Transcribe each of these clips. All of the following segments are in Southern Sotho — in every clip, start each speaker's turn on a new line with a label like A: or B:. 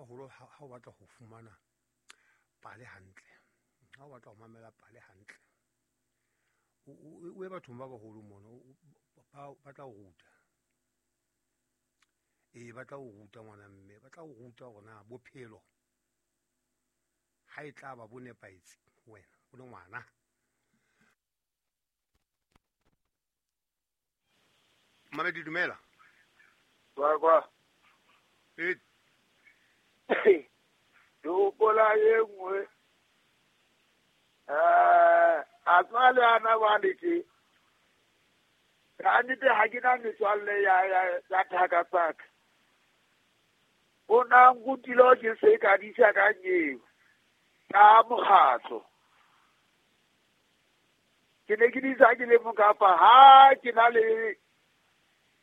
A: baholo ha o batla ho fumana pale hantle, ha o batla ho mamela pale hantle, o ye bathong ba baholo mono, ba tla o ruta. Ee, ba tla o ruta ngwana mme, ba tla o ruta hore na bophelo ha e tla ba bo nepahetse ho wena o le ngwana. Mamedi, dumela.
B: Kwa kwa.
A: E
B: Ke hopola e nngwe. A tswa le ana ba le tje. Ka nnete ha ke na metswalle ya thaka tsa ka. O na nrutile ke se ka disa ka nyeo ka mokgatlo. Ke ne ke disa ke le mong kapa ha ke na le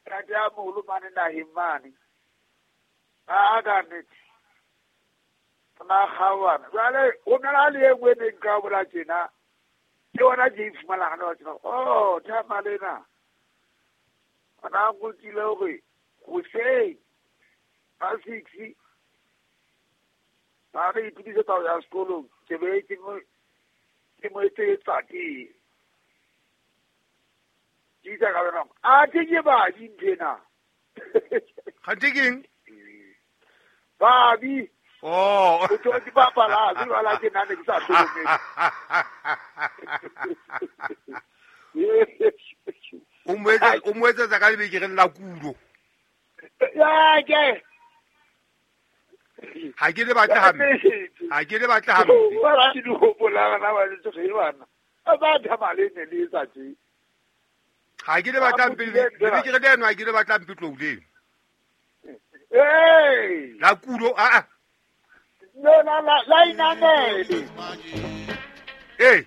B: ntate a moholo mane naheng mane. A ka nnete. Na kgaoana. Jwale ho na le e nngwe e neng ka bola tjena. Ke yona ke e fumanang hana tjena. Oh, thama lena. Ona nrutile hore hoseng ka 6 ba re itukisetsa ho ya sekolong, ke be ke mo etsetsa tee. Ke itse ka bana, a ke ke babi nthwena.
A: Kganthe ke eng?
B: Babi.
A: Oh.
B: O tlo ke bapala, ke jwala ke nna ne ke sa hlokomele.
A: O mo etsetsa ka lebekereng la kulo.
B: Ya, ke.
A: Ha ke le batle hampe. Ha ke le batle hampe.
B: Ba ra di hopola bana ba tsoge bana. Ba thama le ne le etsa tje.
A: Ha ke le batle hampe, lebekere leno ha ke le batle hampe tlouleng.
B: Ee.
A: La kulo, a a.
B: No, la inamele.
A: Ee.